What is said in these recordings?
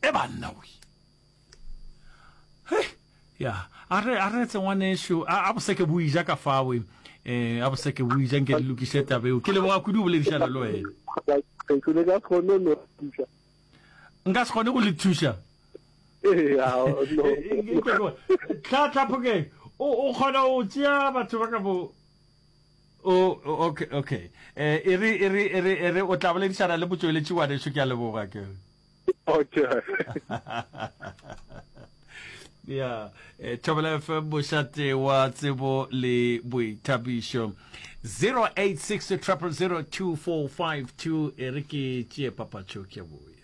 E banna we. He, ya, a re a re tse ngwanešu, a a boseke bo ija ka fawe. Eh, a boseke bo ija nke di lokiše taba eo. Ke leboga kudu go boledišana le wena. Ke ne ka se kgone go thuša. Nka se kgone go le thuša. Ee, no. Tla tla Phokeng, o o kgona go tšea batho ba ka bo O, okay, okay. Eh, e re, e re, e re, e re, o tla boledišana le motšweletši ngwanešu, ke a leboga ke. Okay. ya eh, Thobela FM mošate wa tsebo le boithabišo 086 000 2452 e re ke tšee papatšo ke boya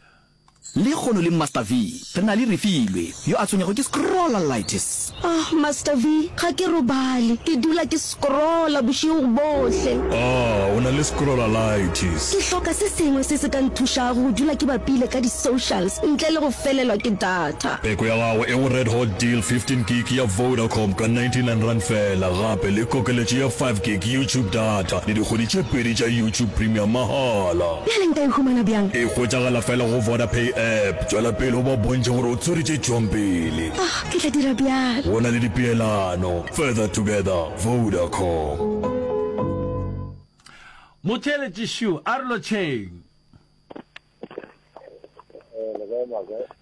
Lekgono le Master V, re na le Refilwe, yo a tshwenyago ke scrollalitis. Ah, Master V, ga ke robale. Ke dula ke scrolla bošego bohle. Ah, o na le scrollalitis. Ke hloka se sengwe se se ka nthušago go dula ke bapile ka di-socials ntle le go felelwa ke data. Peko ya gago e go Red Hot Deal 15 gig ya Vodacom ka R99 feela, gape le kokeletšo ya 5 gig YouTube data le dikgwedi tše pedi tša YouTube Premium mahala. Bjale nka e humana bjang? E hwetšagala fela go Vodapay app. Tšwela pele o ba bontšhe gore o tswere tše tšwang pele. Ah, ke tla dira bjalo. Go na le dipeelano. Further together, Vodacom. Motheeletši šo, a re lotšheng.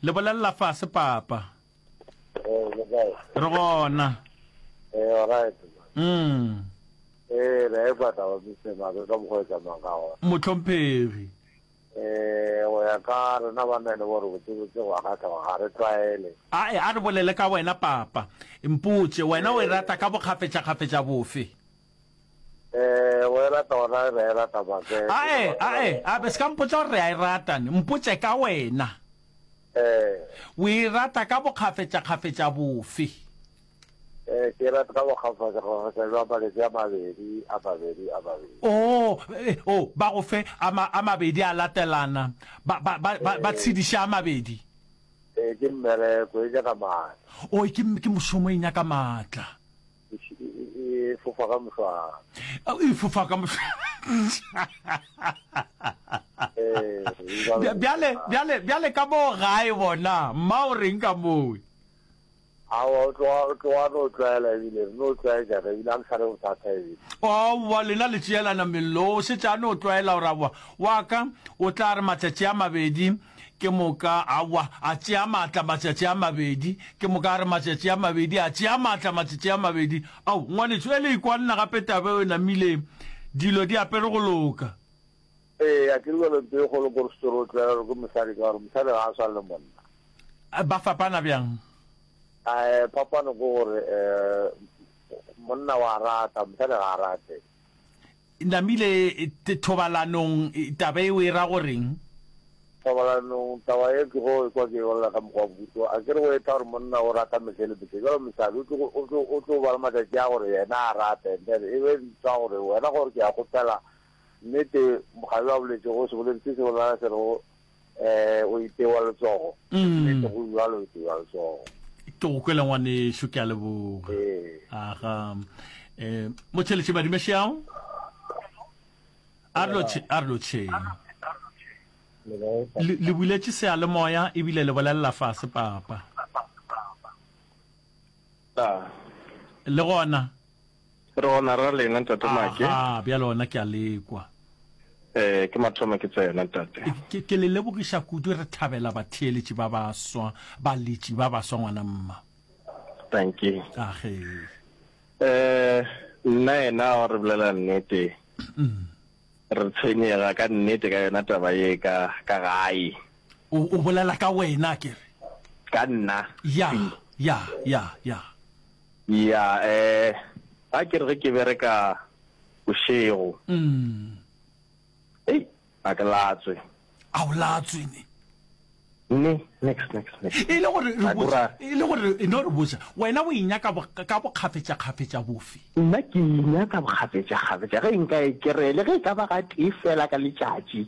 Le bolelela fase, papa. Re gona. Mm. Ee, re a ekwa taba Mister Mabe ka mokgwa e tsamayang ka gona. Mohlomphegi. Ee, go ya ka rena banna e le gore botsebotse go a kgahla gore ga re tlwaele. Ae, a re bolele ka wena papa. Mpotše, wena o e rata ka bokgafetšakgafetša bofe? Ee, go e rata gona re a e rata Mabe. Ae, ae, ae, se ka mpotša gore re a e rata ne. Mpotše ka wena. Ee. O e rata ka bokgafetšakgafetša bofe? Eh, ke rata ka bokgafetšakgafetša bja maletši a mabedi, a mabedi, a mabedi. Oh, eh, oh, ba go fe a ma, a mabedi a latelana, ba, ba, ba, ba, ba tshediše a mabedi. Eh, ke mmereko, e nyaka maatla. Oh, ke, ke mošomo, e nyaka maatla. E, e, e fofa ka mošwana. Oh, e fofa ka mošwana. Eh, e Bjale, bjale, bjale ka moo gae bona, mma o reng ka moo? Aowa, o tloga, o tloga a no tlwaela ebile, re no tlwaetšana ebile, ga ke sa le bothata ebile. Aowa, lena le tšeelana mello, o šetše a no tlwaela gore aowa, wa ka o tla re matšatši a mabedi, ke moka, aowa, a tšea maatla matšatši a mabedi, ke moka a re matšatši a mabedi, a tšea maatla matšatši a mabedi. Ao, ngwanešo, e le ikwa nna gape taba eo e namile, dilo di apere go loka. Ee, a ke re bjalo nto e kgolo ke gore se re o tlwaela gore ke mosadi ka gore mosadi ga a swane le monna. Ba fapana bjang? Eh, phapano ke gore eh, monna wa rata, mosadi ga a rate. Namile thobalanong taba eo e ra goreng? Thobalanong taba e ke go ekwa ke bolela ka mokgwa wa bohuto. A ke re go etla gore monna o rata mehle le mehle. Jalo mosadi o tlo o tlo o tlo ba le matšatši a gore yena a rate and then e be ntwa gore wena gore ke a kgopela nnete mokgabi a boletšego seboledi se se bolela se rego Eh, o itewa letsogo. Mm. Nnete go bjalo o itewa letsogo. Ke go kwele ngwanešu, ke a leboga. Ee. Aga. Eh, motšheletše madumešeao. A re lotšhe, a re lotšheng. Le le buletše seyalemoya ebile le bolelela fase papa. Le gona. Re gona ra lena ntate Make. Aga, bjale gona ke a lekwa. Eh, ke mathomo ke tsena ntate. Ke, ke le lebogiša kudu re thabela batheeletši ba baswa, baletši ba baswa ngwana mma. Thank you. Age. Eh, nna yena wa re bolela nnete. Re tshwenyega ka nnete ka yona taba ye ka ka gae. O, o bolela ka wena ke re. Ka nna. Ya, ya, ya, ya. Ya, eh, ga ke re ge ke bereka bošego. Mm. Ei, a ke latswe. A o latswe ne? Ne, next, next, next. E le gore re botša, e le gore e no re botša, wena o inyaka ka bokgafetšakgafetša bofe? Nna ke inyaka bokgafetšakgafetša ge nka e kry-a, le ge e ka ba gatee fela ka letšatši.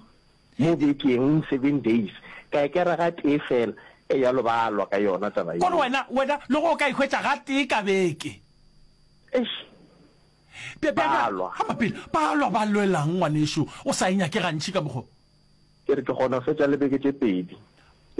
Mo bekeng, seven days, ka e kera ga tee fela. Eya lo ba lwa ka yona taba yeo. Kore wena, wena, le go o ka e hwetša ga tee ka beke. Eish. Bja, bja, Ba lwa. Ga mapele, ba lwa ba lwelang, ngwanešu, o sa e nyake gantši ka mokgo. Ke re ke kgona go fetša le beke tše pedi.